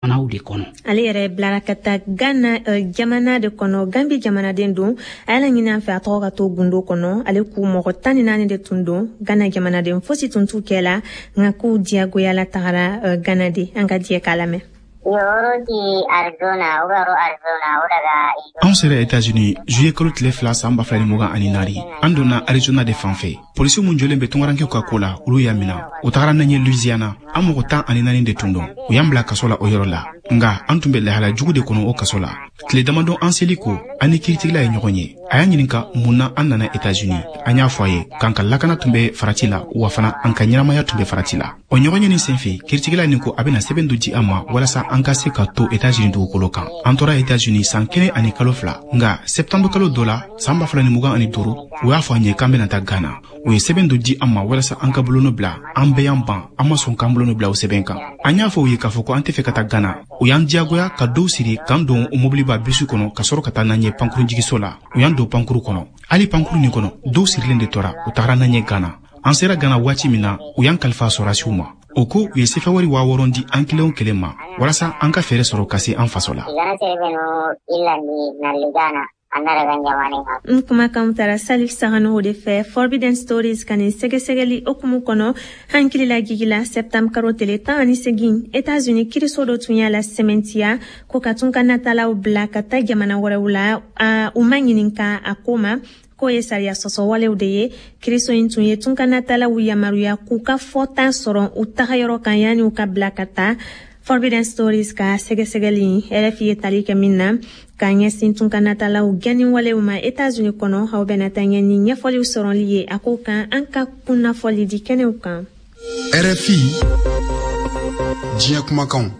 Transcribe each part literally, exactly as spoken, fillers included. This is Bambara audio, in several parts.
Jamanaw de kɔnɔ. Ale yɛrɛ bilara ka taa Gana jamana de kɔnɔ. Gambi jamanaden don. A y'a laɲini an fɛ a tɔgɔ ka to gundo kɔnɔ. Ale k'u mɔgɔ tan ni naani de tun don, Gana jamanaden fosi tun t'u kɛ la, nka k'u diyagoyala tagara Gana de. An ka diɲɛ k'a lamɛn. Anw sera États-Unis juillet kalo tile fila san ba fila ni mugan ani naani. An donna Arizona de fan fɛ. Polisi mun jɔlen bɛ tungarankew ka ko la, olu y'a mina. U tagara n'an ye Louisiana. An mɔgɔ tan ani naani de tun don. U y'an bila kaso la o yɔrɔ la, nga an tun bɛ lahala jugu de kɔnɔ o kaso la. Tile damadɔ an seli ko, an ni kiiritigɛla ye ɲɔgɔn ye. A y'an ɲininka mun na an nana États-Unis. An y'a fɔ a ye k'an ka lakana tun bɛ farati la, wa fana an ka ɲɛnamaya tun bɛ farati la. O ɲɔgɔn ye nin senfɛ, kiiritigɛla nin ko a bɛna sɛbɛn dɔ di an ma walasa an ka se ka to États-Unis dugukolo kan. An tora États-Unis san kelen ani kalo fila, nga septembre kalo dɔ la san ba fila ni mugan ani duuru, u y'a fɔ an ye k'an bɛna taa Ghana. U ye sɛbɛn dɔ di an ma walasa an ka bolonɔ bila. An bɛɛ y'an ban, an ma sɔn k'an bolonɔ bila o sɛbɛn kan. An y'a fɔ u ye k'a fɔ ko an tɛ fɛ ka taa Ghana. U y'an diyagoya ka dɔw siri k'an don o mobiliba bisi kɔnɔ ka sɔrɔ ka taa n'an ye pankurunjigiso la. U y'an don pankuru kɔnɔ. Hali pankuru nin kɔnɔ, dɔw sirilen de tora. U tagara n'an ye Ghana. An sera Ghana waati min na, u y'an kalifa sɔrɔdasiw ma. O ko u ye sefawari waa wɔɔrɔ di an kelen o kelen ma walasa an ka fɛɛrɛ sɔrɔ ka se an faso la. N kumakanw tara Salif Saganogo de fɛ Forbidden Stories ka nin sɛgɛsɛgɛli hokumu kɔnɔ. Hankilila gigila, septembre karo tele tan ani segin, États-Unis kiriso dɔ tun y'a la sɛmɛntiya ko ka tun ka natalaw bila ka taa jamana wɛrɛw la, u ma ɲininka a ko ma, k'o ye sariya sɔsɔwalew de ye. Kiriso in tun ye tunkanatalaw yamaruya k'u ka fɔta sɔrɔ u tagayɔrɔ kan yanni u ka bila ka taa. Forbidden Stories ka sɛgɛsɛgɛli, R F I ye tali kɛ min na k'a ɲɛsin tunkanatalaw gɛnniwalew ma États-Unis kɔnɔ, aw bɛna taa ɲɛ ni ɲɛfɔliw sɔrɔli ye a ko kan an ka kunnafɔli di kɛnɛw kan. R F I, diɲɛ kumakanw.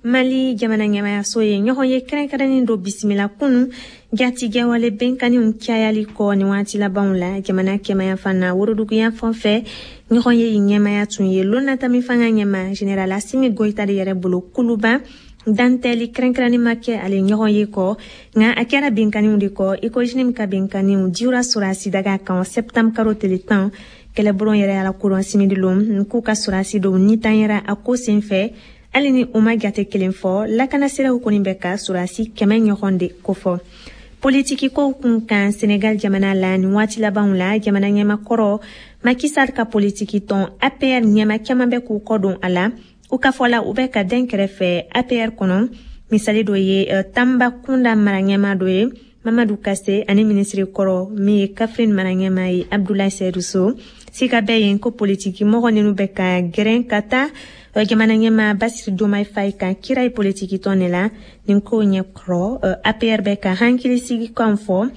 Mali jamana ɲɛmayaso ye ɲɔgɔn ye kɛrɛnkɛrɛnnin do bisimila kunu jatigɛwale bɛnkanniw cayali kɔ ni waati labanw la jamana kɛmayanfan na woroduguyan fan fɛ. Ɲɔgɔn ye ɲɛmaya tun ye lonnatami fanga ɲɛma général Asimi Goyita de yɛrɛ bolo Kuluba. Dantɛli kɛrɛnkɛrɛnnin ma kɛ ale ɲɔgɔn ye kɔ, nka a kɛra binkanniw de kɔ i ko JNIM ka binkanniw diwura sɔrɔsi daga kan septembre karo tele tan. Kɛlɛbulon yɛrɛ y'a lakodɔn simidilon k'u ka sɔrɔsi dɔw nitanyɛra a ko sen fɛ. Hali ni u ma jate kelen fɔ, lakanasiraw kɔni bɛ ka sɔrɔsi kɛmɛ ɲɔgɔn de kofɔ. Politiki kow kun kan Senegal jamana la nin waati labanw la, jamana ɲɛmakɔrɔ Macky Sall ka politiki tɔn A P R ɲɛma caman bɛ k'u kɔ don a la. U ka fɔ la, u bɛ ka den kɛrɛfɛ A P R kɔnɔ. Misali dɔ ye Tambacounda mara ɲɛma dɔ ye, Mamadu Kase, ani minisiri kɔrɔ min ye Kaffrine mara ɲɛma ye, Abdoulaye Seydou Sow. Sika bɛ yen ko politiki mɔgɔ ninnu bɛ ka gɛrɛn ka taa jamana ɲɛma Bassirou Diomaye Faye kan kira ye politiki tɔn de la. Nin ko ɲɛkɔrɔ, A P R bɛ ka hakilisigi kan fɔ.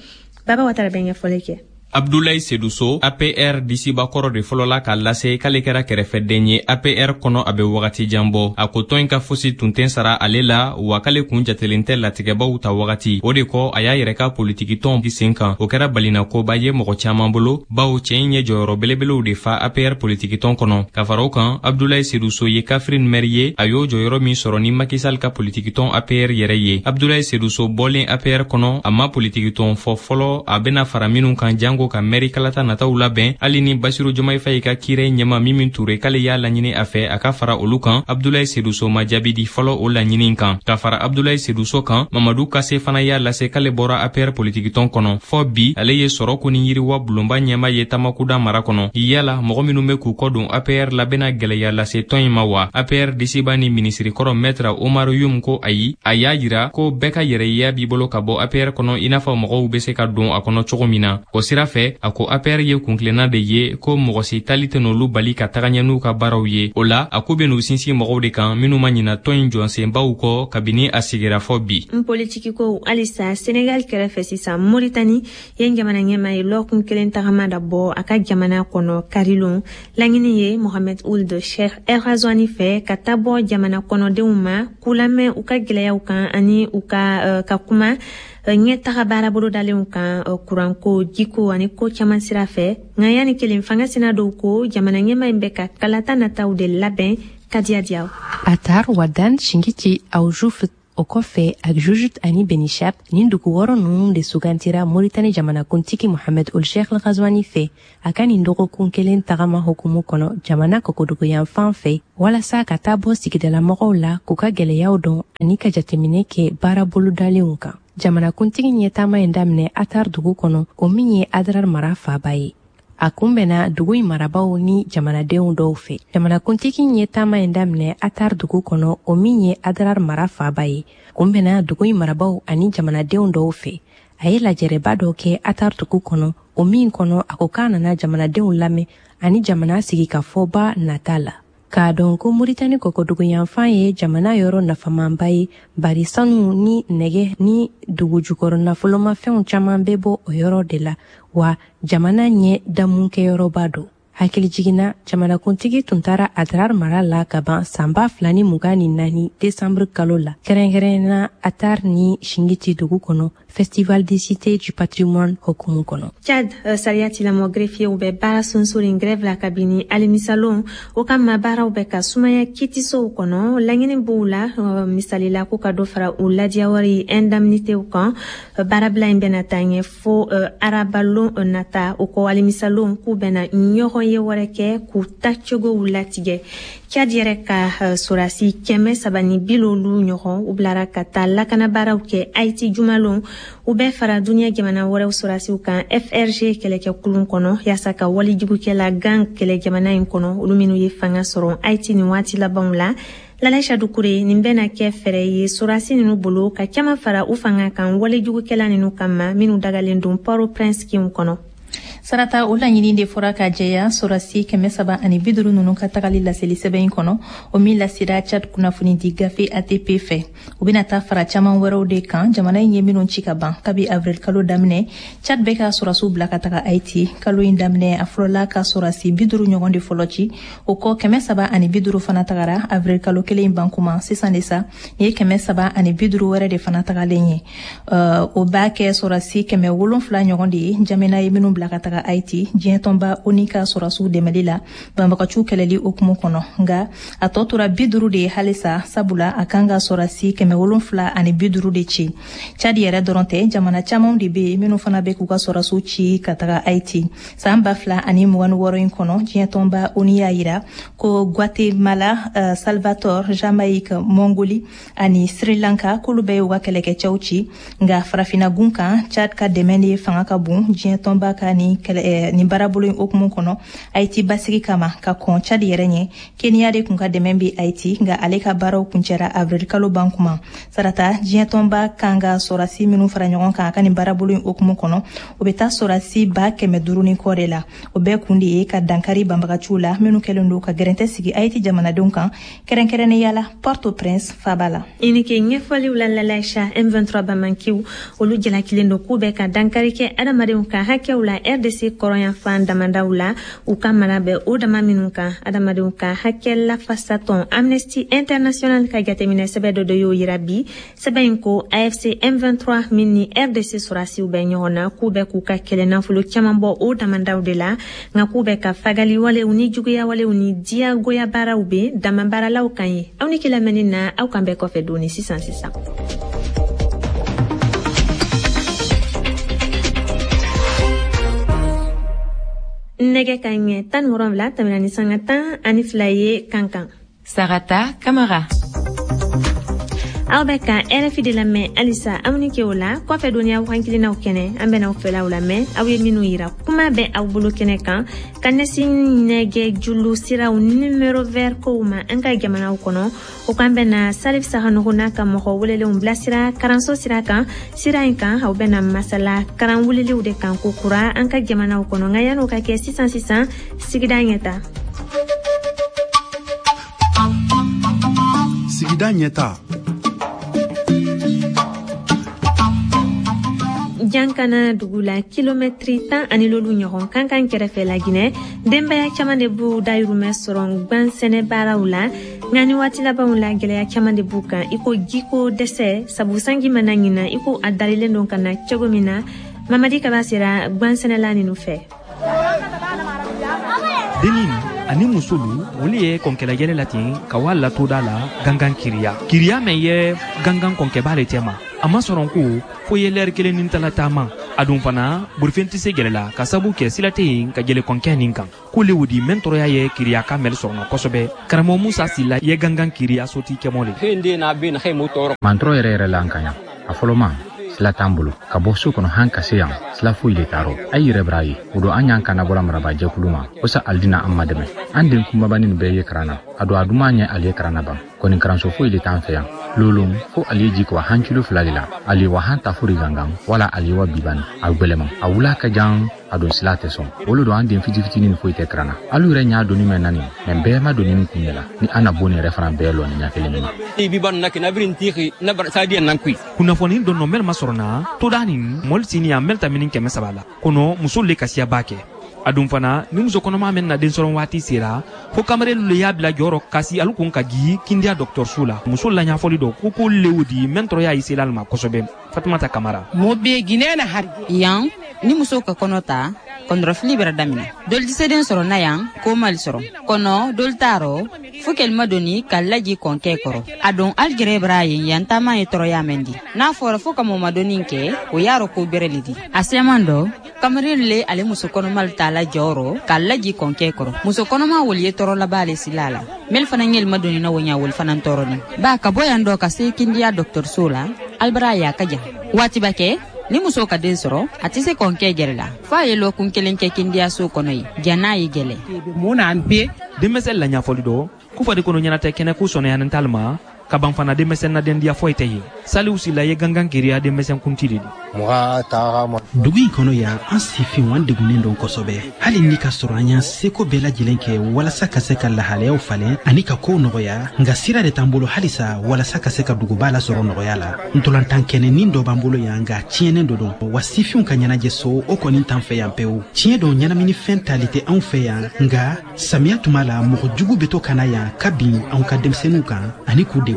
Baba Watara bɛ ɲɛfɔli kɛ. Abdulayi Seduso, A P R disibakɔrɔ de fɔlɔla k'a lase k'ale kɛra kɛrɛfɛden ye A P R kɔnɔ a bɛ wagati jan bɔ. A ko tɔn in ka fosi tun tɛ sara ale la, wa k'ale kun jatelen tɛ latigɛbaw ta wagati. O de kɔ, a y'a yɛrɛ ka politikitɔn sen kan. O kɛra balinakoba ye mɔgɔ caaman bolo, bawo cɛɛ in ye jɔyɔrɔ belebelew de fa A P R politikitɔn kɔnɔ. Ka fara o kan, Abdulayi Seduso ye Kaffrine mɛri ye, a y'o jɔyɔrɔ min sɔrɔ ni Macky Sall ka politikitɔn A P R yɛrɛ ye. Abdulayi Seduso bɔlen A P R kɔnɔ, a ma politikitɔn fɔ fɔlɔ a bena fara minw kan jango ka mɛri kalata nataw labɛn. Hali ni Basiru Jomayi Fayi ka kiirɛ ɲɛma Mimi Ture k'ale y'a laɲini a fɛ a ka fara olu kan, Abdulayi Seduso ma jaabi di fɔlɔ o laɲini kan. Ka fara Abdulayi Seduso kan, Mamadu Kase fana y'a lase k'ale bɔra A P R politikitɔn kɔnɔ. Fɔɔ bi, ale ye sɔrɔ ko ni yiriwa bulonba ɲɛma ye Tamakuda mara kɔnɔ. Yala mɔgɔ minw be k'u kɔ don A P R la bena gwɛlɛya lase tɔn in ma wa? A P R disiba ni minisirikɔrɔ Maître Oumar Youm ko ayi. A y'a yira ko bɛɛ ka yɛrɛyeya b'i bolo ka bɔ A P R kɔnɔ, i n'a fɔ mɔgɔw be se ka don a kɔnɔ cogo min na. O sira fɛ, a ko A P R ye kuntilenna de ye, ko mɔgɔ si tali tɛ n'olu bali ka taga ɲɛ n'u ka baaraw ye. O la, a ko be n'u sinsin mɔgɔw de kan minw ma ɲina tɔn in jɔsenbaw kɔ kabini a sigira fɔ bi. N politiki ko halisa Senegal kɛrɛfɛ sisan, Moritani yen jamana ɲɛma ye lɔkun kelen tagama da bɔ a ka jamana kɔnɔ karilon. Laɲini ye Mohamed Ould Cheikh El Ghazouani fɛ ka taa bɔ jamana kɔnɔdenw ma k'u lamɛn u ka gwɛlɛyaw kan ani u ka uh, ka kuma ɲɛ taga baara bolodalenw kan, kuranko, jiko ani ko caman sira fɛ. Nka yanni kelen fanga sina dɔw ko jamana ɲɛma in bɛ ka kalata nataw de labɛn. Kadiya Diyaw. Atar Wadan Shingiti Aoujou. O kɔfɛ, Akjoujut ani Benishap, nin dugu wɔɔrɔ ninnu de sugantira Moritani jamanakuntigi Mohamed Ould Cheikh El Ghazouani fɛ a ka nin dɔgɔkun kelen tagama hukumu kɔnɔ jamana kɔkɔduguyanfan fɛ, walasa ka taa bɔ sigidalamɔgɔw la k'u ka gɛlɛyaw dɔn ani ka jateminɛ kɛ baara bolodalenw kan. Jamanakuntigi ye taama in daminɛ Atar dugu kɔnɔ, o min ye Adrar mara faaba ye. A kunbɛnna dugu in marabaw ni jamanadenw dɔw fɛ. Jamanakuntigi ye taama in daminɛ Atar dugu kɔnɔ, o min ye Adrar mara faaba ye. Kunbɛnna dugu in marabaw ani jamanadenw dɔw fɛ. A ye lajɛrɛba dɔ kɛ Atar dugu kɔnɔ, o min kɔnɔ a ko k'a nana jamanadenw lamɛn ani jamana sigikafɔba nata la. K'a dɔn ko Moritani kɔkɔduguyanfan ye jamana yɔrɔ nafamanba ye, bari sanu ni nɛgɛ ni dugujukɔrɔ nafolomafɛnw caman bɛ bɔ o yɔrɔ de la, wa jamana ɲɛ damukɛyɔrɔba don. Hakili jiginna, jamanakuntigi tun taara Adrar mara la ka ban san ba fila ni mugan ni naani desanburu kalo la, kɛrɛnkɛrɛnnenya Atar ni Shingiti dugu kɔnɔ, Festival des Cités du Patrimoine hukumu kɔnɔ. Tchad, sariya tilamɔ greffiers bɛ baara sunsorin grève la kabini alamisalon. O kama baaraw bɛ ka sumaya kitisow kɔnɔ. Laɲini b'u la, misali la ko ka dɔ fara u ladiyawari indemnitéw kan. Baarabila in bɛna taa ɲɛ fo arabalon nata. O kɔ, alamisalon k'u bɛna ɲɔgɔn ye wɛrɛ kɛ k'u tacogow latigɛ. Tchad yɛrɛ ka sɔrɔdasi kɛmɛ saba ni bi loolu ɲɔgɔn u bilara ka taa lakanabaaraw kɛ Haïti jumalon. U bɛɛ fara duniɲɛ jamana wɛrɛw sɔrɔdasiw kan F R G kɛlɛkɛkulun kɔnɔ, yaasa ka walijugukɛla gan kɛlɛ jamana in kɔnɔ, olu minnu ye fanga sɔrɔ Haïti nin waati labanw la. Lalaïcha Doucouré, nin bɛna kɛ fɛɛrɛ ye sɔrɔdasi ninnu bolo ka caman fara u fanga kan walijugukɛla ninnu kama minnu dagalen don Port-au-Prince kinw kɔnɔ. Sarata, o laɲini de fɔra ka jɛya sɔrɔdasi kɛmɛ saba ani bi duuru ninnu ka tagali laseli sɛbɛn in kɔnɔ, o min lasera Tchad kunnafonidi gafe A T P fɛ. U bɛna taa fara caman wɛrɛw de kan jamana in ye minnu ci ka ban kabi avril kalo daminɛ. Tchad bɛ ka sɔrɔdasiw bila ka taga Haïti. Kalo in daminɛ, a fɔlɔla ka sɔrɔdasi bi duuru ɲɔgɔn de fɔlɔ ci, o kɔ kɛmɛ saba ani bi duuru fana tagara avril kalo kelen in ban kuma. Sisan de sa, nin ye kɛmɛ saba ani bi duuru wɛrɛ de fana tagalen ye. O b'a kɛ sɔrɔdasi kɛmɛ wolonfila ɲɔgɔn de ye jamana ye minnu bila ka taga Haïti diɲɛ tɔnba ONU ka sɔrɔdasiw dɛmɛli la banbagaciw kɛlɛli hukumu kɔnɔ. Nka a tɔ tora bi duuru de ye halisa, sabula a kan ka sɔrɔdasi kɛmɛ wolonfila ani bi duuru de ci. Tchad yɛrɛ dɔrɔn tɛ, jamana camanw de bɛ yen minnu fana bɛ k'u ka sɔrɔdasiw ci ka taga Haïti. San ba fila ani mugan ni wɔɔrɔ in kɔnɔ, diɲɛ tɔnba ONU y'a yira ko Guatemala, uh, Salvador, Jamaïque, Mongolie ani Sri Lanka k'olu bɛɛ y'u ka kɛlɛkɛcɛw ci. Nka farafinna gun kan, Tchad ka dɛmɛ de fanga ka bon diɲɛ tɔnba ka ni kɛlɛ nin baarabolo in hukumu kɔnɔ Haïti basigi kama ka kɔn Tchad yɛrɛ ɲɛ. Kenya de kun ka dɛmɛ bɛ Haïti, nka ale ka baaraw kuncɛra avril kalo ban kuma. Sarata, diɲɛ tɔnba kan ka sɔrɔdasi minnu fara ɲɔgɔn kan a ka nin baarabolo in hukumu kɔnɔ, o bɛ taa sɔrɔdasi ba kɛmɛ duuru ni kɔ de la. O bɛɛ kun de ye ka dankari banbagaciw la minnu kɛlen don ka gɛrɛntɛ sigi Haïti jamanadenw kan, kɛrɛnkɛrɛnnenya la Port-au-Prince faaba la. I ni ke ɲɛfɔliw la Lalaïcha. M vingt-trois Bamankiw olu jalakilen don k'u bɛ ka dankari kɛ adamadenw ka hakɛw la R D C kɔrɔnyanfan damadaw la, u ka mara bɛ o dama minnu kan. Adamadenw ka hakɛ lafasatɔn Amnesty International ka jateminɛ sɛbɛn dɔ de y'o yira bi. Sɛbɛn in ko A F C M vingt-trois min ni R D C sɔrɔdasiw bɛ ɲɔgɔn na, k'u bɛ k'u ka kɛlɛ nafolo caman bɔ o damadaw de la, nka k'u bɛ ka fagali walew ni juguya walew ni diyagoya baaraw bɛ damabaaralaw kan ye. Aw ni kilamɛnni na, aw kan bɛɛ kɔfɛ doni sisan sisan. Nɛgɛ ka ɲɛ tan ni wolonwula tɛmɛna ni sanga tan ani fila ye kan kan. Sarata Kamara. Aw bɛ ka R F I de lamɛn halisa. Aw ni ke o la kɔfɛ dɔnniya wakankelennaw kɛnɛ, an bɛn'aw fɛlaw lamɛn. Aw ye minnu yira kuma bɛ aw bolo kɛnɛ kan ka ɲɛsin nɛgɛ julu siraw numéro vert kow ma an ka jamanaw kɔnɔ. O kan bɛna Salif Sakhanokho n'a ka mɔgɔ welelenw bilasira karanso sira kan. Sira in kan, aw bɛna masala karan weleliw de kan ko kura an ka jamanaw kɔnɔ. Nka yan'o ka kɛ, sisan sisan sigida ɲɛta. Sigida ɲɛta. Jankana dugu la, kilomɛtiri tan ani lolu ɲɔgɔn kan kan kɛrɛfɛ Laginɛ, denbaya caman de b'u dayirimɛ sɔrɔ gan sɛnɛ baaraw la. Nka ni waati labanw la, gɛlɛya caman de b'u kan, i ko jiko dɛsɛ, sabu sanji mana ɲina i ko a dalilen don ka na cogo min na. Mamadi Kaba sera gan sɛnɛla ninnu fɛ. Dennin ani musolu Olu ye kɔnkɛlɛjɛlɛ la ten ka wa latoda la gangan kiriya kiriya mɛn ye gangan kɔnkɛba le cɛma a ma sɔrɔ ko fo ye lɛri kelen ni tala taama a dun fana bolifɛn tɛ se gɛlɛ la ka sabu kɛ sira tɛ yen ka jɛlɛ kɔnkɛ nin kan ko le wodi mɛn tɔɔrɔya ye kiriya ka mɛli sɔrɔ kosɛbɛ. Karamɔgɔ Musa Sila ye gangan kiriya soti kɛmɔ le. Mantɔrɔ yɛrɛ yɛrɛ la an kan yan a fɔlɔ ma sila t'an bolo ka bɔ so kɔnɔ han ka se yan sila foyi le t'a rɔ a yɛrɛ b'a ye o don an y'an kana bɔra marabajɛkulu ma kosa alidina an ma dɛmɛ an den kunbabani nin bɛɛ ye karan na a don a duman ɲɛ ale karan na ban kɔni karanso foyi le t'an fɛ yan lolon fo ale ji ko han kilo fila de la ale wa han ta fori gangan wala ale wa bibani a gwɛlɛma a wula ka jan a don sila tɛ sɔn olu don an den fitini fitinin foyi tɛ karan na alu yɛrɛ ɲa doni mɛn nani mɛ bɛɛ ma doni min kun ɲɛ la ni an na bon yɛrɛ fana bɛɛ lɔ ni ɲa kelen ma. Kunnafoni dɔ nɔ mɛli ma sɔrɔ na toda nin mɔli sini a mɛli ta mini kɛmɛ saba la kɔnɔ muso le kasiya b'a kɛ a dun fana ni muso kɔnɔma mɛn na den sɔrɔ waati sera fo kamarelu le y'a bila jɔyɔrɔ kasi alu kun ka ji Kindiya dɔgɔtɔrɔso la muso la ɲɛfɔli dɔ ko ko lewo di mɛn tɔɔrɔya ye sela ma kosɛbɛ. Fatumata Kamara. Yan ni muso ka kɔnɔ ta kɔnɔrɔfili bɛra daminɛ doli tɛ se den sɔrɔ na yan ko mali sɔrɔ kɔnɔ doli t'a rɔ fo kɛlima doni ka laji kɔnkɛ kɔrɔ a don aligɛrɛ bɛra yen yan taama ye tɔɔrɔya mɛn di n'a fɔra fo ka mɔmadoni kɛ o y'a rɔ ko bɛrɛ le di a sɛman dɔ kamaren le ale muso kɔnɔma t'a la jɔyɔrɔ ka laji kɔnkɛ kɔrɔ muso kɔnɔma woli ye tɔɔrɔ laban ale sila la mɛli fana ɲɛlima doni na woɲa woli fana tɔɔrɔ ni ba ka bɔ yan dɔ ka se Kindiya dɔgɔtɔrɔso la alibara y'a ka jan waati ba kɛ ni muso ka den sɔrɔ a tɛ se kɔnkɛ gɛrɛ la f'a ye lɔkun kelen kɛ Kindiyaso kɔnɔ ye ja n'a ye gɛlɛ. Denmisɛn la ɲɛfɔli dɔ ko fɔ de kɔnɔ ɲɛnatɛ kɛnɛ ko sɔnɛyanin t'ale ma ka ban fana denmisɛn na dendiya foyi tɛ ye. Saliw Sila ye gangan kiriya denmisɛn kunti de di. Dugu in kɔnɔ yan an sifinw an degunnen don kosɛbɛ hali ni ka sɔrɔ an y'an seko bɛɛ lajɛlen kɛ walasa ka se ka lahalayaw falen ani ka kow nɔgɔya nka sira de t'an bolo halisa walasa ka se ka duguba lasɔrɔ nɔgɔya la. Ntolantan kɛnɛnin dɔ b'an bolo yan nka tiɲɛnen dɔ don wa sifinw ka ɲɛnajɛ so o kɔni t'an fɛ yan pewu. Tiɲɛ don ɲɛnaminifɛn tali tɛ anw fɛ yan nka samiya tuma la mɔgɔ jugu bɛ to ka na yan ka bin anw ka denmisɛnninw kan ani k'u degun.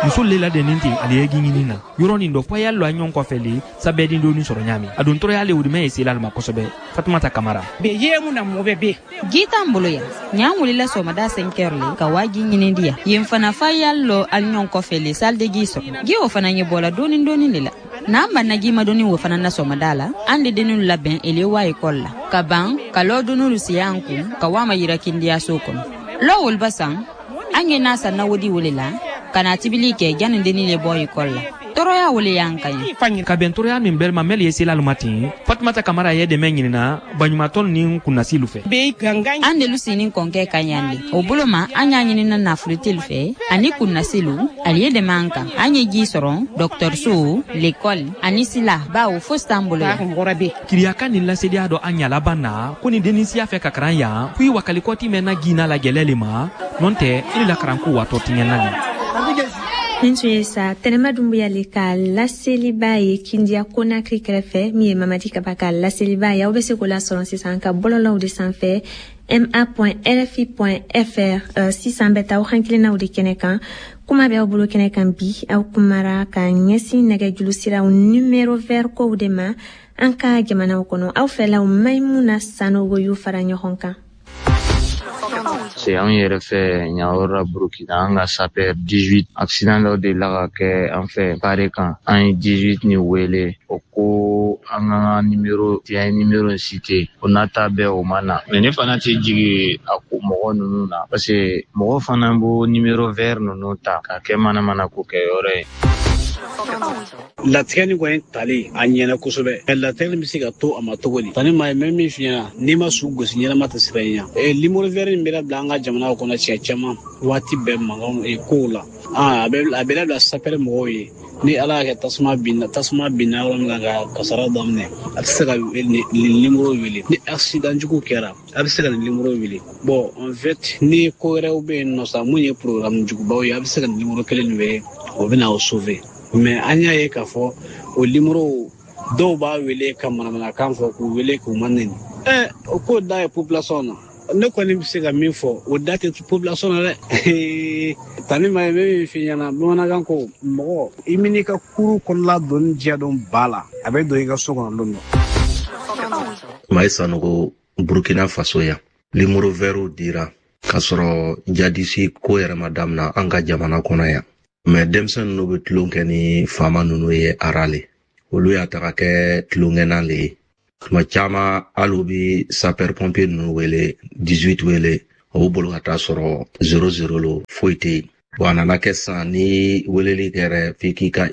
Muso le ladɛnnen ten ale ye ɲini na yɔrɔ nin dɔ fo a y'a lɔ a ɲɔgɔn kɔfɛ le sabɛden doni sɔrɔ ɲaami a don tɔɔrɔya le wudimɛ ye sela ma kosɛbɛ. Fatumata Kamara. Ji t'an bolo yan ɲan wulila sɔgɔmada cinq heures le ka waa ji ɲini di yan yen fana fa y'a lɔ ali ɲɔgɔn kɔfɛ le salle de ji sɔrɔ ji o fana ɲɛ bɔla dɔɔni dɔɔni de la n'an banna ji ma dɔɔni o fana na sɔgɔmada la an de dennu labɛn ele wa ekɔli la ka ban ka lɔ donolu siya an kun ka waa ma yira Kindiyaso kɔnɔ lɔ woliba san an ye n'a san na wodi wele la ka na tibili kɛ janni denni le bɔ ekɔli la tɔɔrɔya wele y'an kan ye. Ka bɛn tɔɔrɔya min bɛɛ ma mɛli ye sela ma ten Fatumata Kamara ye dɛmɛ ɲinina baɲumatɔn ni kunnasilu fɛ. An delu sini kɔnkɛ ka yan le o bolo ma an y'a ɲinina nafoloteli fɛ ani kunnasilu ale ye dɛmɛ an kan an ye ji sɔrɔ dɔgɔtɔrɔso lekɔli ani sila bawo fosi t'an bolo yan. Kiriyaka nin laseliya dɔ an ɲa laban na ko ni denni siya fɛ ka karan yan ko i wakalikɔti mɛn na gina la gɛlɛ le ma nɔn tɛ i la karanko watɔ tiɲɛna le. Nin tun ye sa Tɛnɛma Dunbuya le ka laseliba ye Kindiya Konakiri kɛrɛfɛ min ye Mamadi Kaba ka laseliba ye. Aw bɛ se k'o lasɔrɔ sisan ka bɔlɔlɔw de sanfɛ m a point r f i point f r. Sisan bɛ taa aw hakilinaw de kɛnɛ kan kuma bɛ aw bolo kɛnɛ kan bi aw kumara ka ɲɛsin nɛgɛjuru siraw numéro vert kow de ma an ka jamanaw kɔnɔ aw fɛlaw Maimuna Sanogo y'u fara ɲɔgɔn kan. C'est anw yɛrɛ fɛ ɲayɔrɔ la Burukina an ka sapeur dix-huit accident dɔ delila ka kɛ an fɛ kare kan an ye dix-huit ni wele o ko an ka numéro an ye numéro cité o n'a ta bɛɛ o ma na mais ne fana tɛ jigin a ko mɔgɔ ninnu na parce que mɔgɔ fana b'o numéro vert ninnu ta ka kɛ manamana ko kɛ yɔrɔ ye. Latigɛ nin kɔni tali a ɲɛna kosɛbɛ latigɛ nin bɛ se ka to a ma cogo di tani maa ye mɛ min f'i ɲɛna n'i ma su gosi ɲɛnama tɛ siran i ɲɛ numéro vert nin bɛ labila an ka jamana kɔnɔ siɲɛ caman waati bɛɛ mankanw kow la a bɛ a bɛ labila sapɛrɛ mɔgɔw ye ni ala y'a kɛ tasuma binna tasuma binna yɔrɔ min kan ka kasara daminɛ a bɛ se ka nin numéro wele ni accident jugu kɛra a bɛ se ka nin numéro wele bon en fait ni ko wɛrɛw bɛ yen nɔ sa mun ye programme jugubaw ye a bɛ se ka nin numéro kelen nin wele o bɛ na o sauver. Mais an y'a ye k'a fɔ o numéro dɔw b'a wele ka manamanakan fɔ k'u wele k'u ma nɛni ɛ o ko da ye population na ne kɔni bɛ se ka min fɔ o da tɛ population na dɛ tani ma ye bɛ min f'i ɲɛna bamanankan ko mɔgɔ i min'i ka kuru kɔnɔla donni diya dɔn ba la a bɛ don i ka so kɔnɔ don dɔ. Mayi Sanogo Burkina Faso yan, numéro vert dira k'a sɔrɔ jadisi ko yɛrɛ ma damina an ka jamana kɔnɔ yan. Mais denmisɛn ninnu bɛ tulon kɛ ni faama ninnu ye arale, olu y'a ta ka kɛ tulonkɛnan le ye. Tuma caman hali u bɛ sapeur pompier ninnu wele, dix-huit wele, o b'u bolo ka taa sɔrɔ zéro zéro lo, foyi tɛ yen. Bon, a nana kɛ sisan ni weleli kɛra f'i k'i ka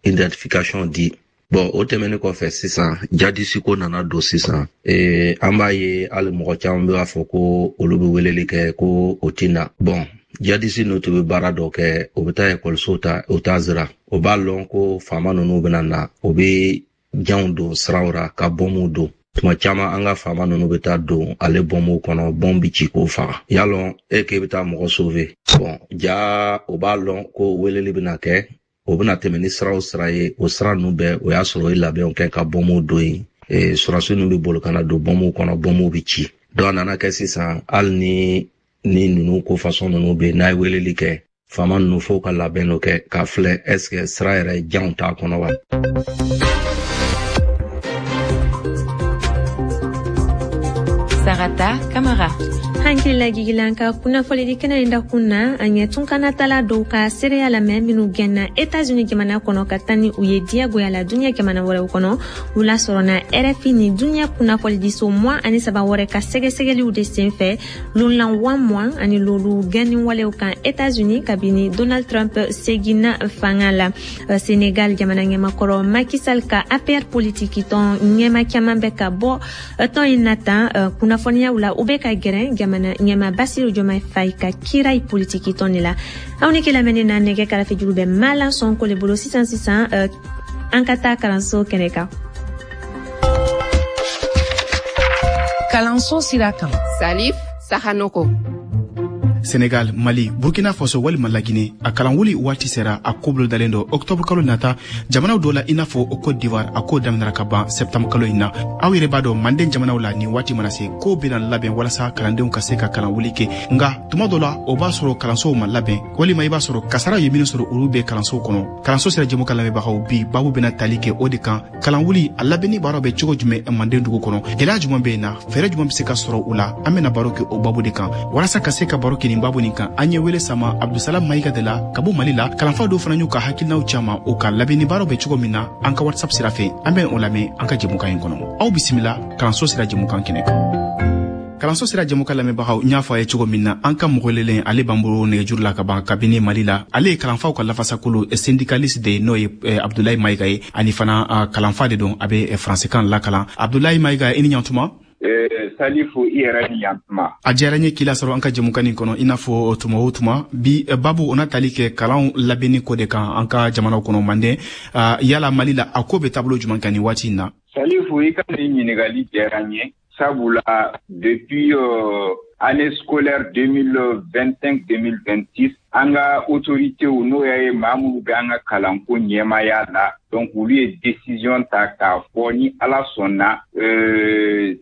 identification di. Bon, o tɛmɛnen kɔfɛ sisan jadisi ko nana don sisan. Ee, an b'a ye hali mɔgɔ caman bɛ b'a fɔ ko olu bɛ weleli kɛ ko o ti na. Bon, jadisi ninnu tun bɛ baara dɔ kɛ, o bɛ taa ekɔliso ta, o t'a sira, o b'a lɔn ko faama ninnu bɛna na, o bɛ janw don siraw ra ka bɔnmuw don. Tuma caman an ka faama ninnu bɛ taa don ale bɔnmuw kɔnɔ, bɔn bi ci k'o faga. Y'a lɔn e k'e bɛ taa mɔgɔ sauver. Bon, ja o b'a lɔn ko weleli bɛna kɛ, o bɛna tɛmɛ ni sira o sira ye, o sira ninnu bɛɛ o y'a sɔrɔ o ye labɛnw kɛ ka bɔnmuw don yen. Sɔrɔdasi ninnu bɛ boli ka na don bɔnmuw kɔnɔ, bɔnmuw bɛ ci. Donc a nana kɛ sisan hali ni ni ninnu ko fasɔn ninnu bɛ yen, n'a ye weleli kɛ faama ninnu f'o ka labɛn dɔ kɛ k'a filɛ est ce que sira yɛrɛ janw t'a kɔnɔ wa. Sarata Kamara. Hankili lajigilan ka kunnafonidi kɛnɛ in dakun na, an ye tunkanatala dɔw ka seereya lamɛn minnu gɛnna Etats-Unis jamana kɔnɔ ka taa ni u ye diyagoya la duniɲɛ jamana wɛrɛw kɔnɔ. U lasɔrɔna R F I ni duniɲɛ kunnafonidiso mugan ani saba wɛrɛ ka sɛgɛsɛgɛliw de senfɛ lonlan wa mugan ani lolu gɛnni walew kan Etats-Unis kabini Donald Trump seginna fanga la. Senegal jamana ɲɛmakɔrɔ Macky Sall ka A P R politiki tɔn ɲɛma caman bɛ ka bɔ tɔn in na tan kunnafoniyaw la, u bɛ ka gɛrɛ jamana ɲɛma Bassirou Diomaye Faye ka kirai politiki tɔn de la. Aw ni kelamɛni na nɛgɛ karafe juru bɛ Malan Sonko le bolo sisan sisan, an ka taa kalanso kɛnɛ kan. Kalanso sira kan. Salif Sahanoko. Senegal, Mali, Burkina Faso walima Lagine, a kalanwuli waati sera, a ko bolodalen don octobre kalo nata jamanaw dɔ la i n'a fɔ Côte d'Ivoire, a ko daminɛra ka ban septembre kalo in na. Aw yɛrɛ b'a dɔn manden jamanaw la nin waati mana se, ko bɛna labɛn walasa kalandenw ka se ka kalanwuli kɛ. Nka tuma dɔ la o b'a sɔrɔ kalansow ma labɛn, walima i b'a sɔrɔ kasaraw ye minnu sɔrɔ olu bɛ kalansow kɔnɔ. Kalanso sera jɛmu kan lamɛnbagaw, bi babu bɛna tali kɛ o de kan. Kalanwuli a labɛnni baaraw bɛ cogo jumɛn manden dugu kɔnɔ, gɛlɛya jumɛn bɛ yen na, fɛɛrɛ jumɛn bɛ se ka sɔrɔ u la, an bɛna baro kɛ o babu de kan. Walasa ka se ka baro kɛ nin babu nin kan, an ye wele sama Abdusalam Mayiga de la ka bɔ Mali la. Kalanfa dɔw fana y'u ka hakilinaw caman o ka labɛnni baaraw bɛ cogo min na an ka WhatsApp sira fɛ, an bɛ o lamɛn an ka jɛmukan in kɔnɔ. Aw bisimila kalanso sira jɛmukan kɛnɛ kan. Kalanso sira jɛmukan lamɛnbagaw, n y'a fɔ a ye cogo min na, an ka mɔgɔ welelen ale b'an bolo nɛgɛjuru la ka ban kabini Mali la. Ale ye kalanfaw ka lafasakolo syndicaliste de ye, n'o ye Abdulayi Mayiga ye, ani fana kalanfa de don, a bɛ faransikan lakalan. Abdulayi Mayiga, i ni ɲantuma. Salifu, i yɛrɛ ni yantuma. A diyara n ye k'i lasɔrɔ an ka jɛmukan nin kɔnɔ i n'a fɔ tuma o tuma. Bi babu o na tali kɛ kalanw labɛnni ko de kan an ka jamanaw kɔnɔ manden. Yala Mali la a ko bɛ taabolo jumɛn kan nin waati in na? Salifu, i ka nin ɲininkali diyara n ye, sabula depuis euh, année scolaire deux mille vingt-cinq deux mille vingt-six, an ka autorités n'o ye maa minnu bɛ an ka kalanko ɲɛmaaya la, donc olu ye décision ta k'a fɔ ni Ala sɔnna euh,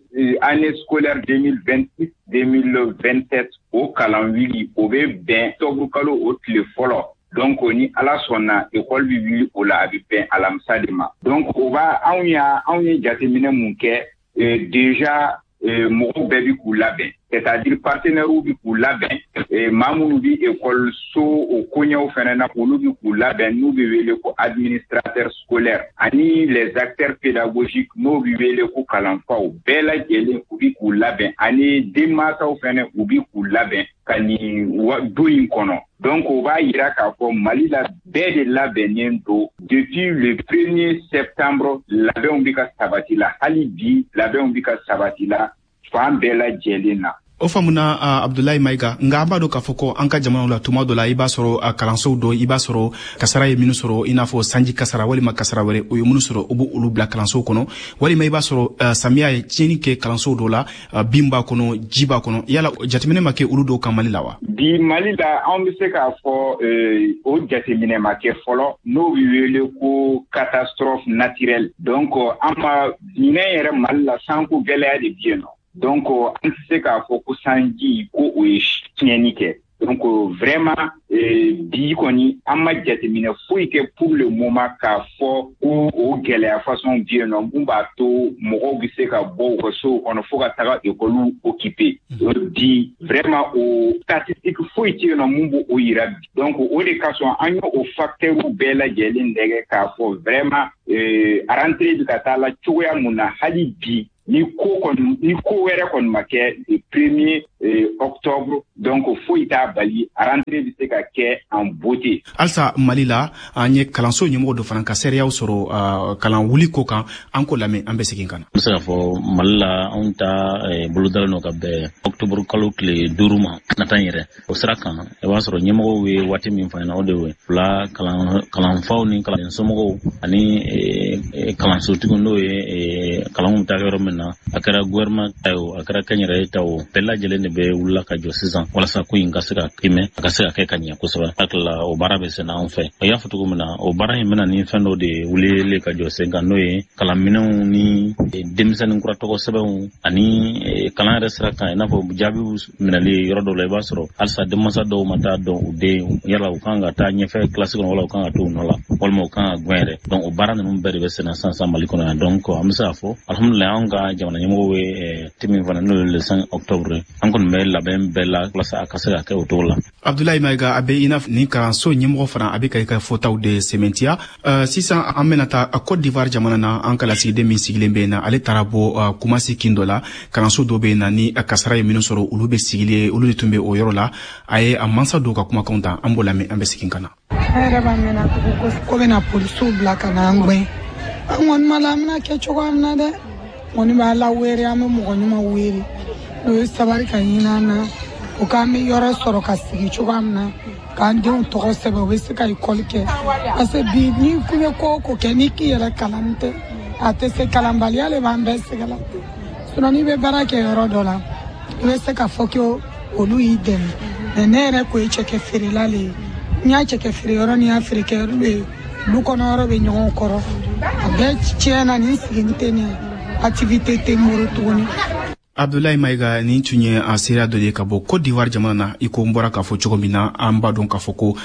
année scolaire deux mille vingt-six deux mille vingt-sept o kalan wuli o bɛ bɛn octobre kalo o tile fɔlɔ. Donc ni Ala sɔnna école bɛ wuli o la, a bɛ bɛn alamisa de ma. Donc o b'a anw y'a anw ye jateminɛ mun kɛ, euh, déjà mɔgɔw bɛɛ bi k'u labɛn, c'est-à-dire partenaires bi k'u labɛn, maa minnu bi école so o koɲɛw fɛnɛ na, olu bi k'u labɛn, n'u bɛ wele ko administrateur scolaire, ani les acteurs pédagogiques n'o bi wele ko kalanfaw, bɛɛ lajɛlen u bi k'u labɛn, ani denmansaw fɛnɛ u bi k'u labɛn ka nin don in kɔnɔ. Donc o b'a yira k'a fɔ Mali la bɛɛ de labɛnnen don depuis le premier septembre, labɛnw bi ka sabati la, hali bi labɛnw bi ka sabati la fan bɛɛ lajɛlen na. O faamuna Abdulayi Mayiga, nka an b'a dɔn k'a fɔ ko an ka jamanaw la tuma dɔ la i b'a sɔrɔ kalansow dɔ, i b'a sɔrɔ kasara ye minnu sɔrɔ, i n'a fɔ sanji kasara walima kasara wɛrɛ, o ye minnu sɔrɔ u b'olu bila kalansow kɔnɔ, walima i b'a sɔrɔ samiya ye tiɲɛni kɛ kalansow dɔ la, bin b'a kɔnɔ, ji b'a kɔnɔ. Yala jateminɛ ma kɛ olu dɔw kan Mali la wa? Bi Mali la anw bɛ se k'a fɔ o jateminɛ ma kɛ fɔlɔ, n'o bɛ wele ko catastrophe naturelle. Donc an ma ɲinɛ yɛrɛ Mali la sanko gɛlɛya de bɛ yen nɔ. Donc an tɛ se k'a fɔ ko sanji ko o ye tiɲɛni kɛ. Donc vraiment Bi kɔni an ma jateminɛ foyi kɛ pour le moment k'a fɔ ko o gɛlɛya façon bɛ yen nɔ mun b'a to mɔgɔw bɛ se ka bɔ u ka sow kɔnɔ fo ka taga ekɔliw occuper. Bi vraiment o statistique foyi tɛ yen nɔ mun b'o yira bi. Donc o de kasɔn an y'o facteurs bɛɛ lajɛlen lajɛ k'a fɔ vraiment a rentrée bɛ ka taa la cogoya mun na hali bi ni ko kɔni ni ko wɛrɛ kɔni ma kɛ le premier octobre, donc foyi t'a bali a rentrée bɛ se ka kɛ en beauté. Halisa Mali la, an ye kalanso ɲɛmɔgɔ dɔ fana ka seereyaw sɔrɔ kalan wuli ko kan, an k'o lamɛn, an bɛ segin ka na. N bɛ se k'a fɔ Mali la, anw ta bolodalen don ka bɛn octobre kalo tile duuru ma nata yɛrɛ. O sira kan, i b'a sɔrɔ ɲɛmɔgɔw ye waati min fɔ an ɲɛna, o de ye fila kalanfaw ni kalan somɔgɔw ani kalansotigiw, n'o ye kalanw bɛ taa yɔrɔ min na, a kɛra gouvernement ta ye o, a kɛra kɛnyɛrɛye ta o, bɛɛ lajɛlen de bɛ wulila ka jɔ sisan walasa ko in ka se ka kimɛ, a ka se ka kɛ ka ɲɛ kosɛbɛ. Hakili la o baara bɛ senna anw fɛ. O y'a fɔ cogo min na, o baara in bɛna ni fɛn dɔ de wulili ka jɔ sen kan, n'o ye kalanminɛnw ni denmisɛnnin kura tɔgɔ sɛbɛnw ani kalan yɛrɛ sira kan, i n'a fɔ jaabiw minɛli yɔrɔ dɔw la. I b'a sɔrɔ halisa denmansa dɔw ma taa dɔn u den yala u kan ka taa ɲɛfɛ kilasi kɔnɔ, wala u kan ka to u nɔ la, walima u kan ka gɛn yɛrɛ. Donc o baara ninnu bɛɛ de bɛ senna sisan sisan Mali kɔnɔ yan. Donc an bɛ se k'a fɔ alhamdulilayi, anw ka jamana ɲɛmɔgɔw ye te min fana, n'o ye le cinq octobre, an kɔni bɛ labɛn bɛɛ la walasa a ka se ka kɛ o cogo la. Abdoulaye Maïga, a bɛ i n'a nin kalanso ɲɛmɔgɔ fana a bɛ ka i ka fɔtaw de sɛmɛntiya. Sisan an bɛna taa Côte d'Ivoire jamana na, an ka lasigiden min sigilen bɛ yen na, ale taara bɔ Kumasi kin dɔ la, kalanso dɔ bɛ yen na ni kasara ye minnu sɔrɔ, olu bɛ sigilen, olu de tun bɛ o yɔrɔ la. A ye a mansa dɔw ka kumakanw ta, an b'o lamɛn, an bɛ segin ka na. An yɛrɛ b'a mɛn tugun ko bɛna polisiw bila ka na an gɛn. An kɔni ma la, an bɛna kɛ cogoya min na dɛ, kɔni b'a la wele, an bɛ mɔgɔ ɲuman wele n'o ye sabali ka ɲini an na, o k'an bɛ yɔrɔ sɔrɔ ka sigi cogoya min na, k'an denw tɔgɔ sɛbɛn, u bɛ se ka ekɔli kɛ. Parce que bi n'i kun bɛ ko o ko kɛ, n'i k'i yɛrɛ kalan tɛ, a tɛ se, kalanbaliya de b'an bɛɛ sɛgɛn la. Sinon n'i bɛ baara kɛ yɔrɔ dɔ la, i bɛ se ka fɔ ko olu y'i dɛmɛ. Mais ne yɛrɛ ko ye cɛkɛ feerela le ye, n y'a cɛkɛ feere yɔrɔ ni y'a feere kɛ yɔrɔ ye, lu kɔnɔ yɔrɔ bɛ ɲɔgɔn kɔrɔ, a bɛɛ tiɲɛna, nin sigini tɛ nin ye, activité tɛ n bolo tuguni. Abdoulaye Maïga, nin tun ye a seereya dɔ de ye ka bɔ Côte d'Ivoire jamana na. I ko n bɔra k'a fɔ cogo min na, an b'a dɔn k'a fɔ ko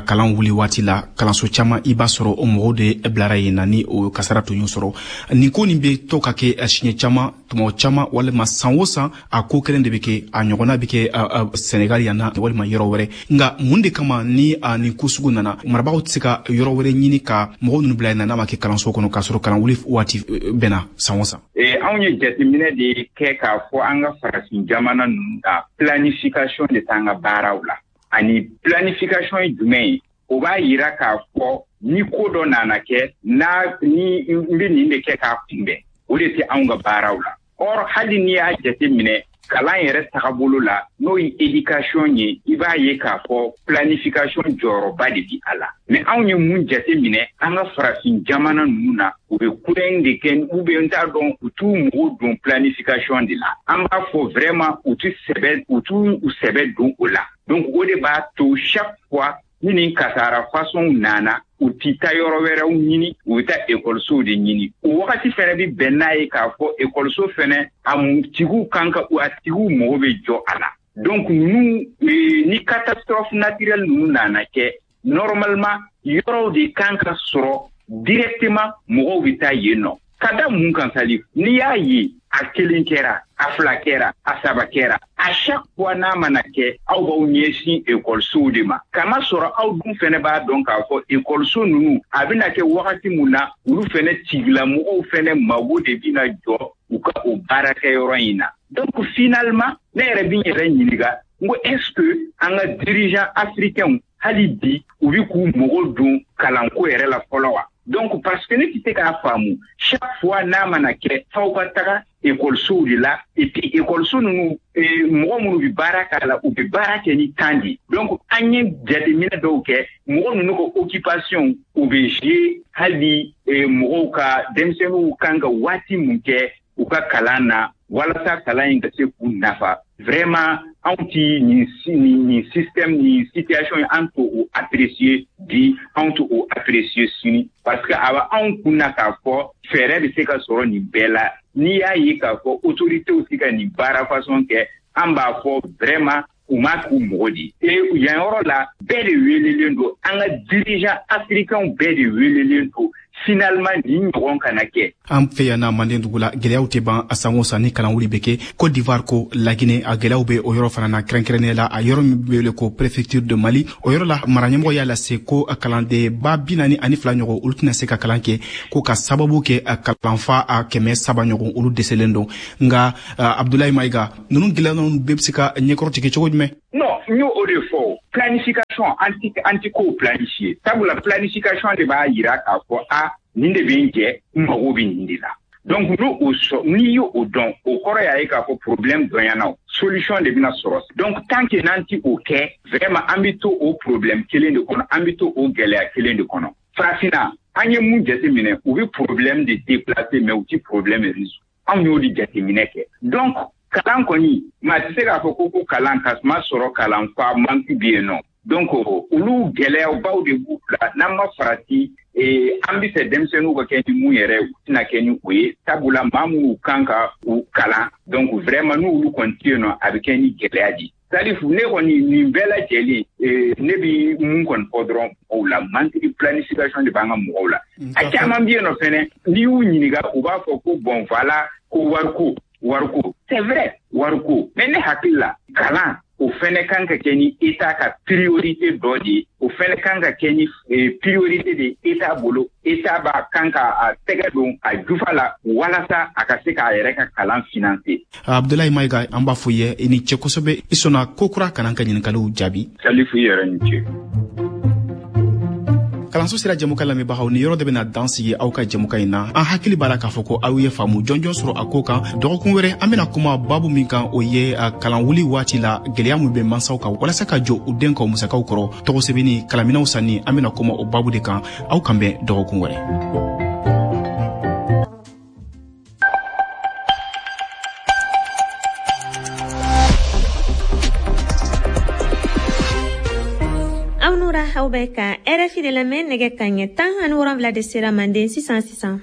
kalan wuli waati la, kalanso caman i b'a sɔrɔ o mɔgɔw de bilara yen na ni o kasara tun y'o sɔrɔ. Nin ko nin bɛ to ka kɛ siɲɛ caman, tuma caman, walima san o san a ko kelen de bɛ kɛ, a ɲɔgɔnna bɛ kɛ Senegal yan na walima yɔrɔ wɛrɛ. Nka mun de kama ni nin ko sugu nana, marabagaw tɛ se ka yɔrɔ wɛrɛ ɲini ka mɔgɔw ninnu bila yen na, n'a ma kɛ kalanso kɔnɔ, k'a sɔrɔ kalan wuli waati bɛnna san o san? Anw ye jateminɛ de kɛ k'a fɔ an ka farafin jamana ninnu na, planification de t'an ka baaraw la. Ani planification ye jumɛn ye? O b'a yira k'a fɔ ni ko dɔ nana kɛ, n'a ni n bɛ nin de kɛ k'a kunbɛn, o de tɛ anw ka baaraw la. Or hali n'i y'a jateminɛ kalan yɛrɛ tagabolo la, n'o ye éducation ye, i b'a ye k'a fɔ planification jɔyɔrɔba de bi a la. Mais anw ye mun jateminɛ an ka farafin jamana ninnu na, u bɛ kulonkɛ de kɛ, ou bien n t'a dɔn, u t'u mago don planification de la. An b'a fɔ vraiment u t'u sɛbɛ, u t'u u sɛbɛ don o la. Donc o de b'a to chaque fois ni nin kasara façon nana, u ti taa yɔrɔ wɛrɛw ɲini, u bɛ taa ekɔlisow de ɲini. O wagati fɛnɛ bi bɛn n'a ye k'a fɔ ekɔliso fɛnɛ a tigiw kan ka, a tigiw mago bɛ jɔ a la. Donc ninnu ni catastrophe naturelle ninnu nana kɛ, normalement yɔrɔw de kan ka sɔrɔ directement mɔgɔw bɛ taa yen nɔ. Ka da mun kan Salif? N'i y'a ye a kelen kɛra, a fila kɛra, a saba kɛra, à chaque fois n'a mana kɛ, aw b'aw ɲɛsin ekɔlisow de ma. Kama sɔrɔ aw dun fɛnɛ b'a dɔn k'a fɔ ekɔliso ninnu a bɛna kɛ wagati mun na, olu fɛnɛ tigilamɔgɔw fɛnɛ mago de bɛna jɔ u ka o baarakɛyɔrɔ in na. Donc finalement ne yɛrɛ bɛ n yɛrɛ ɲininka, n ko est-ce que an ka dirigeants africains hali bi u bɛ k'u mago don kalanko yɛrɛ la fɔlɔ wa? Donc parce que ne tɛ se k'a faamu, chaque fois n'a mana kɛ, f'aw ka taga ekɔlisow de la, et puis ekɔliso ninnu mɔgɔ minnu bɛ baara k'a la, u bɛ baara kɛ ni temps de. Donc an ye jateminɛ dɔw kɛ, mɔgɔ ninnu ka occupation u bɛ jouer hali mɔgɔw ka denmisɛnninw kan ka waati mun kɛ u ka kalan na, walasa kalan in ka se k'u nafa. Vraiment anw ti nin nin système, nin situation ye, an t'o o apprécier bi, anw t'o o apprécier sini, parce que a bɛ anw kun na k'a fɔ fɛɛrɛ bɛ se ka sɔrɔ nin bɛɛ la. N'i y'a ye k'a fɔ autorités tɛ ka nin baara façon kɛ, an b'a fɔ vraiment U m'a k'u mɔgɔ di. Et yan yɔrɔ la, bɛɛ de welelen don, an ka dirigeant africain bɛɛ de welelen don. Finalement, nin ɲɔgɔn kana kɛ. An fɛ yan na Manden dugu la, gɛlɛyaw tɛ ban a san o san ni kalanwuli bɛ kɛ. Côte d'Ivoire ko Laginɛ, a gɛlɛyaw bɛ o yɔrɔ fana na, kɛrɛnkɛrɛnnenya la a yɔrɔ min bɛ wele ko préfecture de Mali. O yɔrɔ la, mara ɲɛmɔgɔ y'a lase ko kalanden ba bi naani ani fila ɲɔgɔn, olu tɛna se ka kalan kɛ, ko ka sababu kɛ kalanfa a kɛmɛ saba ɲɔgɔn, olu dɛsɛlen don. Nka Abdoulaye Maïga, ninnu gɛlɛya ninnu bɛɛ bɛ se ka ɲɛkɔrɔtigɛ cogo jumɛn? Non, n y'o o de fɔ. Planification, anti anti kow planifier. Sabula planification de b'a yira k'a fɔ a nin de bɛ n jɛ, n mago bɛ nin de la. Donc n'o o sɔrɔ, n'i y'o o dɔn, o kɔrɔ y'a ye k'a fɔ problème dɔnyana o, solution de bɛna sɔrɔ. Donc tant que n'an ti o kɛ, vraiment an bɛ to o problème kelen de kɔnɔ, an bɛ to o gɛlɛya kelen de kɔnɔ. Farafinna, an ye mun jateminɛ, u bɛ problème de déplacer, mais u ti problème résoudre. Anw y'o de jateminɛ kɛ. Donc kalan kɔni, maa tɛ se k'a fɔ ko ko kalan ka ma sɔrɔ kalanfa manque bɛ yen nɔ. Donc olu gɛlɛyabaw de b'u la. N'an ma farati, an bɛ fɛ denmisɛnninw ka kɛ ni mun yɛrɛ, u tɛna kɛ ni o ye. Sabula maa minnu kan ka u kalan, donc vraiment n'olu kɔni tɛ yen nɔ, a bɛ kɛ ni gɛlɛya de ye. Salifu, ne kɔni nin bɛɛ lajɛlen, ne bɛ mun kɔni fɔ dɔrɔn mɔgɔw la, manque de planification de b'an ka mɔgɔw la. A caman bɛ yen nɔ fɛnɛ, n'i y'u ɲininka, u b'a fɔ ko bon voilà, ko wariko wariko. C'est vrai, wariko, mais ne hakili la, kalan o fɛnɛ kan ka kɛ ni État ka priorité dɔ de ye. O fɛnɛ kan ka kɛ ni priorité de État bolo. État b'a kan ka a tɛgɛ don a jufa la walasa a ka se k'a yɛrɛ ka kalan financer. Abdoulaye Maïga, an b'a fɔ ye i ni ce kosɛbɛ, i sɔnna ko kura kana ka ɲininkaliw jaabi. Salifu, i yɛrɛ ni ce. Kalanso sira jɛmukan lamɛnbagaw, ni yɔrɔ de bɛna dan sigi aw ka jɛmukan in na. An hakili b'a la k'a fɔ ko aw ye faamu jɔnjɔn sɔrɔ a ko kan. Dɔgɔkun wɛrɛ, an bɛna kuma babu min kan, o ye kalanwuli waati la gɛlɛya min bɛ mansaw kan walasa ka jɔ u den ka musakaw kɔrɔ, tɔgɔ sɛbɛnni, kalanminɛnw sanni. An bɛna kuma o babu de kan. Aw kan bɛn dɔgɔkun wɛrɛ. Aw bɛ ka R F I de lamɛn, nɛgɛ ka ɲɛ tan ani wolonwula de sera Manden sisan sisan.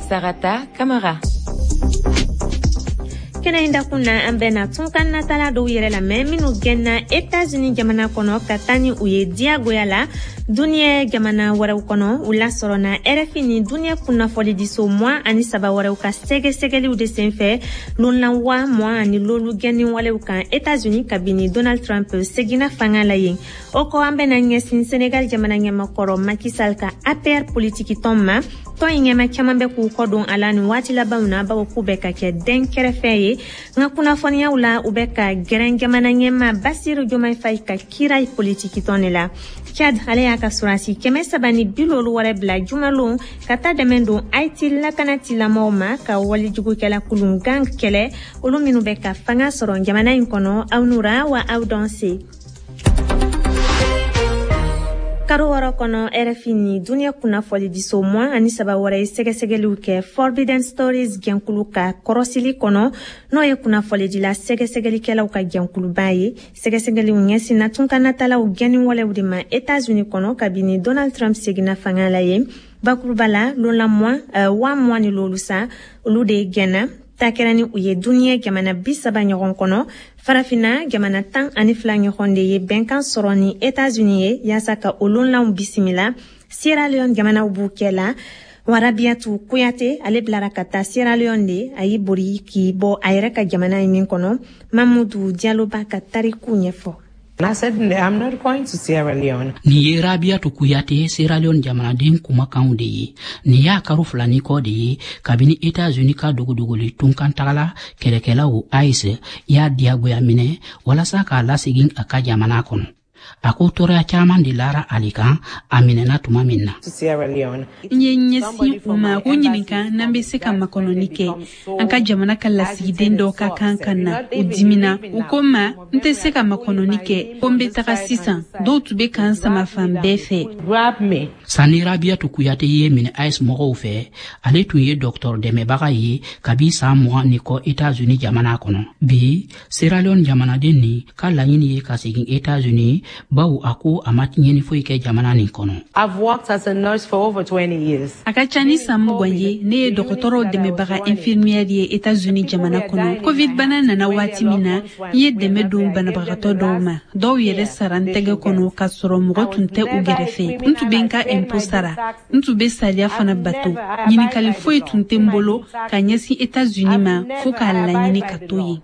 Sarata Kamara. Kɛnɛ in dakun na, an bɛna tunkan natala dɔw yɛrɛ lamɛn minnu gɛnna États-Unis jamana kɔnɔ ka taa ni u ye diyagoya la duniɲɛ jamana wɛrɛw kɔnɔ. U lasɔrɔna R F I ni duniɲɛ kunnafonidiso mugan ani saba wɛrɛw ka sɛgɛsɛgɛliw de senfɛ lonlanwa mugan ani lolu gɛnni walew kan États-Unis kabini Donald Trump seginna fanga la yen. O kɔ, an bɛna ɲɛsin Sénégal jamana ɲɛmakɔrɔ Macky Sall ka A P R politiki tɔn ma. Tɔn in ɲɛma caman bɛ k'u kɔ don a la nin waati labanw na, bawo k'u bɛ ka kɛ den kɛrɛfɛ ye. Nka kunnafoniyaw la, u bɛ ka gɛrɛn jamana ɲɛma Bassirou Diomaye Faye ka kira politiki tɔn de la. Tchad ale y'a ka sɔrɔdasi kɛmɛ saba ni bi loolu wɛrɛ bila jumalon ka taa dɛmɛ don Haïti lakanatilamɔgɔw ma ka walijugukɛla kulun gang kɛlɛ, olu minnu bɛ ka fanga sɔrɔ jamana in kɔnɔ. Aw nura wa aw dɔn se. Karo wɔɔrɔ kɔnɔ, R F I ni duniɲɛ kunnafonidiso mugan ani saba wɛrɛ ye sɛgɛsɛgɛliw kɛ Forbidden Stories jɛnkulu ka kɔrɔsili kɔnɔ, n'o ye kunnafonidila sɛgɛsɛgɛlikɛlaw ka jɛnkuluba ye. Sɛgɛsɛgɛliw ɲɛsinna tunkanatalaw gɛnni walew de ma États-Unis kɔnɔ kabini Donald Trump seginna fanga la yen. Bakuruba la, lonla mugan wa mugan ni loolu sa, olu de gɛnna. Ta kɛra ni u ye duniɲɛ jamana bi saba ɲɔgɔn kɔnɔ. Farafinna jamana tan ani fila ɲɔgɔn de ye bɛnkan sɔrɔ ni États-Unis ye yaasa ka o lonlanw bisimila. Sierra Leone jamanaw b'u kɛ la. Warabiatu Kuyate ale bilara ka taa Sierra Leone de, a y'i bori k'i bɔ a yɛrɛ ka jamana ye min kɔnɔ. Mamudu Diallo b'a ka tariku ɲɛfɔ. I said, I'm not going to Sierra Leone. Nin ye Rabiatu Kuyate, Sierra Leone jamanaden kumakanw de ye. Nin y'a karo fila ni kɔ de ye kabini États-Unis ka dogodogoli tunkantagala kɛlɛkɛlaw ICE y'a diyagoya minɛ walasa k'a lasegin a ka jamana kɔnɔ. A ko tɔɔrɔya caman de lara ale kan a minɛna tuma min na. N ye ɲɛsin u ma ko ɲininka n'an bɛ se ka makɔnɔni kɛ. An ka jamana ka lasigiden dɔ ka kan ka na, u dimina. U ko n ma n tɛ se ka makɔnɔni kɛ, ko n bɛ taga sisan. Dɔw tun bɛ k'an sama fan bɛɛ fɛ. Sani Rabiatu Kuyate ye minɛ ICE mɔgɔw fɛ, ale tun ye dɔgɔtɔrɔ dɛmɛbaga ye kabi san mugan ni kɔ États-Unis jamana kɔnɔ. Bi, Sierra Leone jamanaden nin ka laɲini ye ka segin États-Unis bawo a ko a ma tiɲɛni foyi kɛ jamana nin kɔnɔ. A ka ca ni san mugan ye, ne ye dɔgɔtɔrɔw dɛmɛbaga infirmière ye États-Unis jamana kɔnɔ. Covid bana nana waati min na, n ye dɛmɛ don banabagatɔ dɔw ma. Dɔw yɛrɛ sara n tɛgɛ kɔnɔ k'a sɔrɔ mɔgɔ tun tɛ u gɛrɛfɛ. N tun bɛ n ka impôt sara, n tun bɛ sariya fana bato. Ɲininkali foyi tun tɛ n bolo ka ɲɛsin États-Unis ma fo k'a laɲini ka to yen.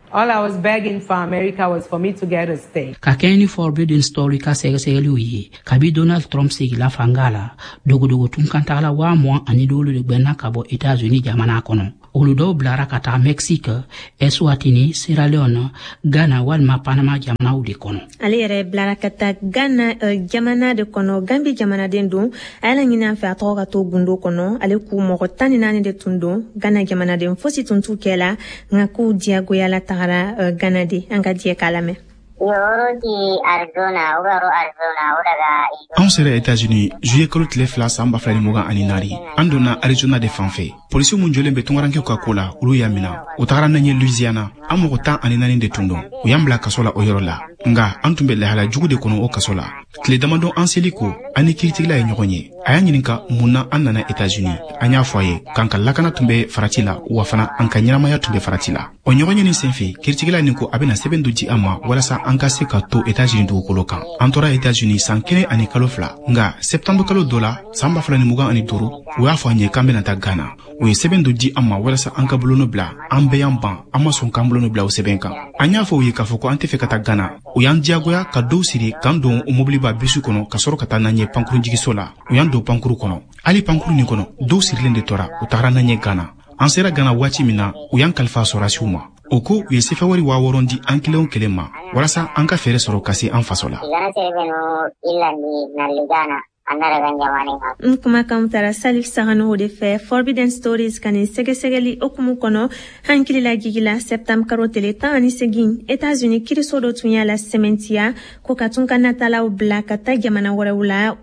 Ka kɛɲɛ ni Forbidden Story ka sɛgɛsɛgɛliw ye, kabi Donald Trump segila fanga la, dogodogo tunkantagala waa mugan ani duuru de gwɛnna ka bɔ États-Unis jamana kɔnɔ. Olu dɔw bilara ka taga Mexique, Eswatini, Sierra Leone, Ghana walima Panama jamanaw de kɔnɔ. Ale yɛrɛ bilara ka taa Ghana uh, jamana de kɔnɔ. Gambi jamanaden don. A y'a laɲini an fɛ a tɔgɔ ka to gundo kɔnɔ. Ale k'u mɔgɔ tan ni naani de tun don. Ghana jamanaden fosi tun t'u kɛ la, nka k'u diyagoyala tagara uh, Ghana de. An ka diɲɛ k'a lamɛn. Anw sera États-Unis juillet kalo tile fila san ba fila ni mugan ani naani. An donna Arizona de fan fɛ. Polisiw mun jɔlen bɛ tunkarankew ka ko la, olu y'a mina. U tagara n'an ye Louisiana. An mɔgɔ tan ani naani de tun don. U y'an bila kaso la o yɔrɔ la. Nka an tun bɛ lahala jugu de kɔnɔ o kaso la. Tile damadɔ an seli ko, an ni kiiritigɛla ye ɲɔgɔn ye. A y'an ɲininka mun na an nana États-Unis. An y'a fɔ a ye k'an ka lakana tun bɛ farati la, wa fana an ka ɲɛnamaya tun bɛ farati la. O ɲɔgɔn ye nin senfɛ, kiiritigɛla nin ko a bɛna sɛbɛn dɔ di an ma walasa an ka se ka to États-Unis dugukolo kan. An tora États-Unis san kelen ani kalo fila. Nka septembre kalo dɔ la, san ba fila ni mugan ani duuru, u y'a fɔ an ye k'an bɛna taa Ghana. U ye sɛbɛn dɔ di an ma walasa an ka bolonɔ bila. An bɛɛ y'an ban, an ma sɔn k'an bolonɔ bila o sɛbɛn kan. An y'a fɔ u ye k'a fɔ ko an tɛ fɛ ka taa Ghana. U y'an diyagoya ka dɔw siri k'an don o mobiliba bisi kɔnɔ ka sɔrɔ ka taa n'an ye pankurunjigiso la. U y'an don pankuru kɔnɔ. Hali pankuru nin kɔnɔ, dɔw sirilen de tora, u tagara n'an ye Ghana. An sera Ghana waati min na, u y'an kalifa sɔrɔdasiw ma. O ko u ye sefawari waa wɔɔrɔ di an kelen o kelen ma walasa an ka fɛɛrɛ sɔrɔ ka se an faso la. N kumakanw tara Salif Saganogo de fɛ Forbidden Stories ka nin sɛgɛsɛgɛli hokumu kɔnɔ. Hankili jigila septembre karo tele tan ani segin, États-Unis kiriso dɔ tun y'a la sɛmɛntiya ko ka tun ka natalaw bila ka taa jamana wɛrɛw la,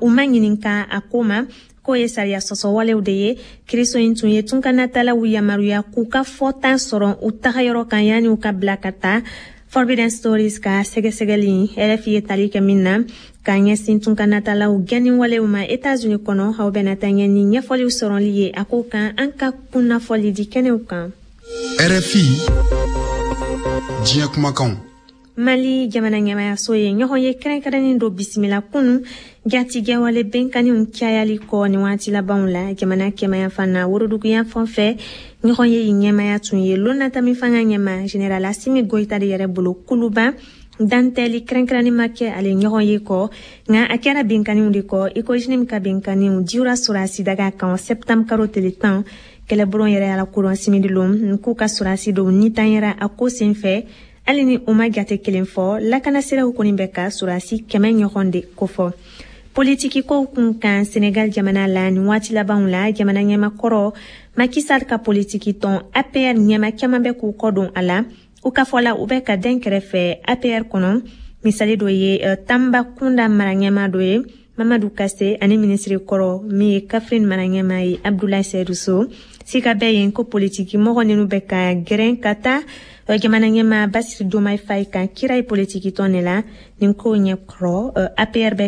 u ma ɲininka a ko ma k'o ye sariya sɔsɔwalew de ye. Kiriso in tun ye tunkanatalaw yamaruya k'u ka fɔta sɔrɔ u tagayɔrɔ kan yanni u ka bila ka taa. Forbidden Stories ka sɛgɛsɛgɛli R F I ye tali kɛ min na k'a ɲɛsin tunkanatalaw gɛnni walew ma États-Unis kɔnɔ, aw bɛna taa ɲɛ ni ɲɛfɔliw sɔrɔli ye a ko kan an ka kunnafɔli di kɛnɛw kan. R F I diɲɛ kumakanw. Mali jamana ɲɛmayaso ye ɲɔgɔn ye kɛrɛnkɛrɛnnen dɔ bisimila kunu jatigɛwale bɛnkanniw cayali kɔ ni waati labanw la jamana kɛmayanfan na woroduguyanfan fɛ. Ɲɔgɔn ye ɲɛmaya tun ye lonnatami fanga ɲɛma Général Assimi Goïta de yɛrɛ bolo Kuluba. Dantɛli kɛrɛnkɛrɛnnen ma kɛ ale ɲɔgɔn ye kɔ, nka a kɛra bɛnkanniw de kɔ i ko J N I M ka bɛnkanniw diwra sɔrɔsi daga kan septembre karo tele tan. Kɛlɛbulon yɛrɛ y'a lakodɔn simidilon k'u ka sɔrɔsi dɔw nitanyɛra a ko senfɛ. Hali ni u ma jate kelen fɔ, lakanasiraw kɔni bɛ ka sɔrɔsi kɛmɛ ɲɔgɔn de kofɔ. Politiki kow kun kan Senegal jamana la nin waati labanw la, jamana ɲɛmakɔrɔ Macky Sall ka politiki tɔn A P R ɲɛma caman bɛ k'u kɔ don a la. U ka fɔ la, u bɛ ka den kɛrɛfɛ A P R kɔnɔ. Misali dɔ ye Tambacounda mara ɲɛma dɔ ye Mamadou Kassé ani minisiri kɔrɔ min ye Kaffrine mara ɲɛma ye Abdoulaye Seydou Sow. Sika bɛ yen ko politiki mɔgɔ ninnu bɛ ka gɛrɛn ka taa jamana ɲɛma Bassirou Diomaye Faye kan kira ye politiki tɔn de la. Nin ko ɲɛkɔrɔ, A P R bɛ